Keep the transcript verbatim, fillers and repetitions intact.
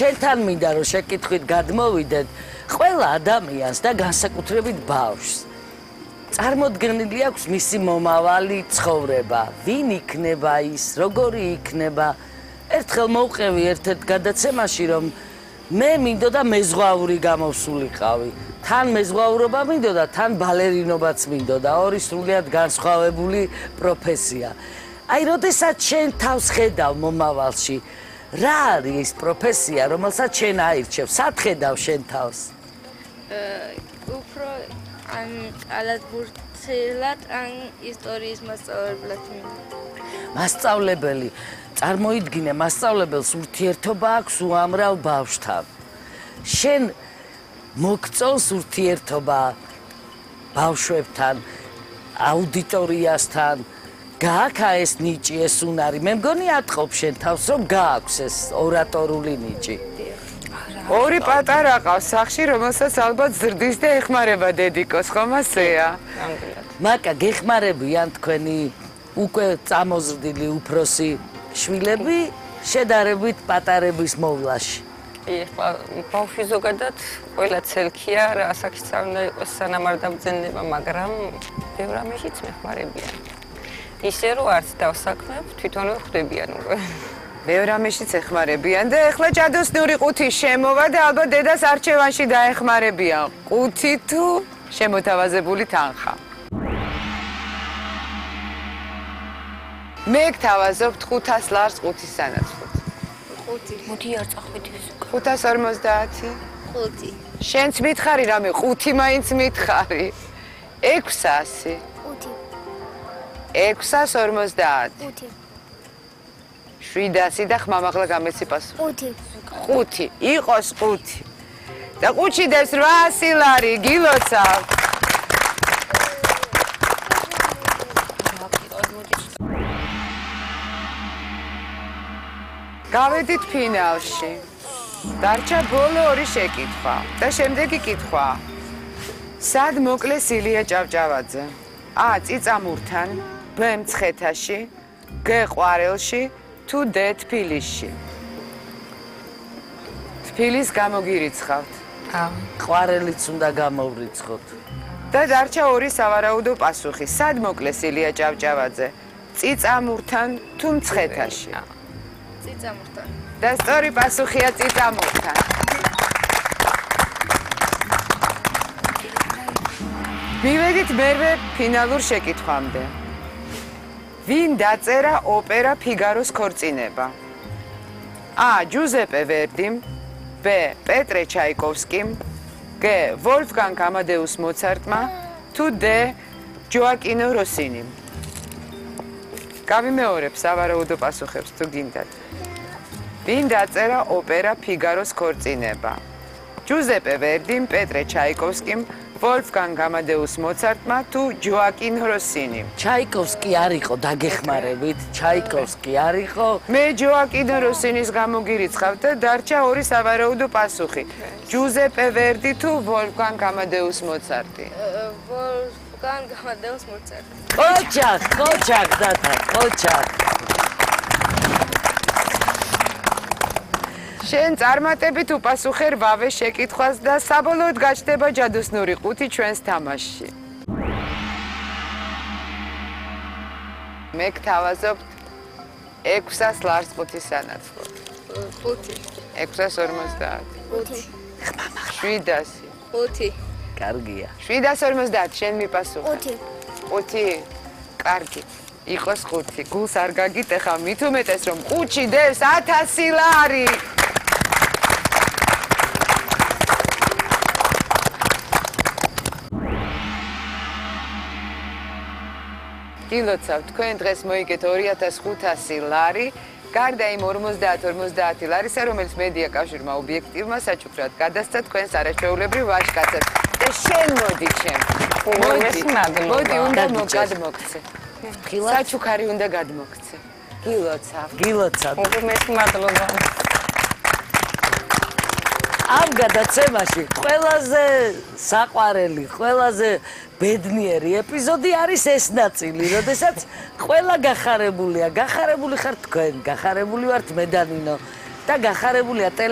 შენთან მინდა რომ შეკითხვით გადმოვიდეთ ყველა ადამიანს და განსაკუთრებით ბავშვს. წარმოდგენილი აქვს მისი მომავალი ცხოვრება, ვინ იქნება ის, როგორი იქნება. ერთხელ მოვყევი ერთ-ერთ გადაცემაში რომ მე მინდოდა მეზღვაური გამოვსულიყავი. თან მეზღვაურობა მინდოდა, თან ბალერინობაც მინდოდა, ორი სრულიად განსხვავებული პროფესია. აი, როდესაც შენ თავს ხედავ მომავალში, რა არის ის პროფესია, რომელსაც შენ აირჩევ? სად ხედავ შენ თავს? უფრო ან კალათბურთელად, ან ისტორიის მასწავლებლად მინდა. მასწავლებელი, წარმოიდგინე, მასწავლებელს ურთიერთობა აქვს უამრავ ბავშვთან. შენ მოგწონს ურთიერთობა ბავშვებთან, აუდიტორიასთან, გააქვს ეს ნიჭი, ეს უნარი. მე მგონი ატყობ შენ თავს, რომ გააქვს ეს ორატორული ნიჭი. ორი პატარა ყავს სახში, რომელსაც ალბათ ზრდის და ეხმარება დედიკოს, ხომ ასეა? მაკა, გეხმარებიან თქვენი უკვე წამოზრდილი უფროსი შვილები შედარებით პატარების მოვლაში. ეხლა ბავშვი ზოგადად ყველა ცელქია, რა ასაკიც უნდა იყოს სანამ არ დამძენება, მაგრამ ბევრ ამაშიც მეხმარებიან. ისე რომ არც დავსაქმებ, თვითონვე ხვდებიან უკვე. ბევრ ამაშიც ეხმარებიან და ეხლა ჭადოსნური ყუთი შემოვა და ალბათ დედას არჩევანში დაეხმარებიან. ყუთი თუ შემოთავაზებული თანხა. მე გთავაზობ ხუთას ლარს ყუთის სანაცვლოდ. ხუთი. მოდი არ წახვიდეს უკვე. ხუთას ორმოცდაათი. ხუთი. შენც მითხარი რამე, ყუთი მაინც მითხარი. ექვსასი. ხუთი. ექვსას ორმოცდაათი. ხუთი. შვიდასი და ხმამაღლა გამეცი პასუხი. ხუთი. ხუთი. იყოს ხუთი. და ყუთში დევს რვაასი ლარი, გილოცავ. გავედით ფინალში. დარჩა ბოლო ორი შეკითხვა და შემდეგი კითხვა. სად მოკლეს ილია ჭავჭავაძე? ა. წიწამურთან, ბ. მცხეთაში, გ. ყვარელში, თუ დ. თბილისში. თბილის გამოგირიცხავთ. ყვარელიც უნდა გამოვრიცხოთ. და დარჩა ორი სავარაუდო პასუხი. სად მოკლეს ილია ჭავჭავაძე? წიწამურთან თუ მცხეთაში? წიწამურთან. და სწორი პასუხია წიწამურთან. მივედით მერვე ფინალურ შეკითხვამდე. ვინ დაწერა ოპერა ფიგაროს ქორწინება? ა. ჯუზეპე ვერდიმ, ბ. პეტრე ჩაიკოვსკიმ, გ. ვოლფგანგ ამადეუს მოცარტმა, თუ დ. ჯოაკინო როსინიმ. გავიმეორებ სავარაუდო პასუხებს თუ გინდათ. ვინ დაწერა ოპერა ფიგაროს ქორწინება? ჯუზეპე ვერდიმ, პეტრე ჩაიკოვსკიმ, ვოლფგანგ ამადეუს მოცარტმა თუ ჯოაკინ როსინიმ. ჩაიკოვსკი არ იყო დაგეხმარებით, ჩაიკოვსკი არ იყო. მე ჯოაკინ როსინის გამოგირიცხავ და დარჩა ორი სავარაუდო პასუხი. ჯუზეპე ვერდი თუ ვოლფგანგ ამადეუს მოცარტი. ვოლფგანგ ამადეუს მოცარტი. ოჯახ, ოჯახ დათა, ოჯახ. შენ წარმატებით უპასუხე რვავე შეკითხვას და საბოლოოდ გაჩნდება ჯადოსნური ყუთი ჩვენს თამაშში. მე გთავაზობთ ექვსას ლარს ყუთის სანაცვლოდ. ხუთი. ექვსას ორმოცდაათი. ხუთი. შვიდასი. ხუთი. კარგია. შვიდას ორმოცდაათი შენ მიპასუხე. ხუთი. ხუთი. კარგი. იყოს ხუთი. გულს არ გაგიტეხა, მით უმეტეს რომ ყუთში დევს ათასი ლარი. გილოცავ, თქვენ დღეს მოიგეთ ორი ათას ხუთასი ლარი, გარდა იმ ორმოცდაათ ორმოცდაათი ლარისა, რომელიც მედია კავშირმა ობიექტივმა საჩუქრად გადასცა თქვენს არაჩვეულებრივ ვაჟკაცებს. და შენ მოდი ჩემ. მოდი, მოდი, უნდა გადმოგცე. საჩუქარი უნდა გადმოგცე. გილოცავ. გილოცავ. მოგმეს მადლობა. ამ გადაცემაში ყველაზე საყვარელი, ყველაზე ბედნიერი ეპიზოდი არის ეს ნაწილი, როდესაც ყველა გახარებულია, გახარებული ხართ თქვენ, გახარებული ვართ მე და ნინო და გახარებულია ტელე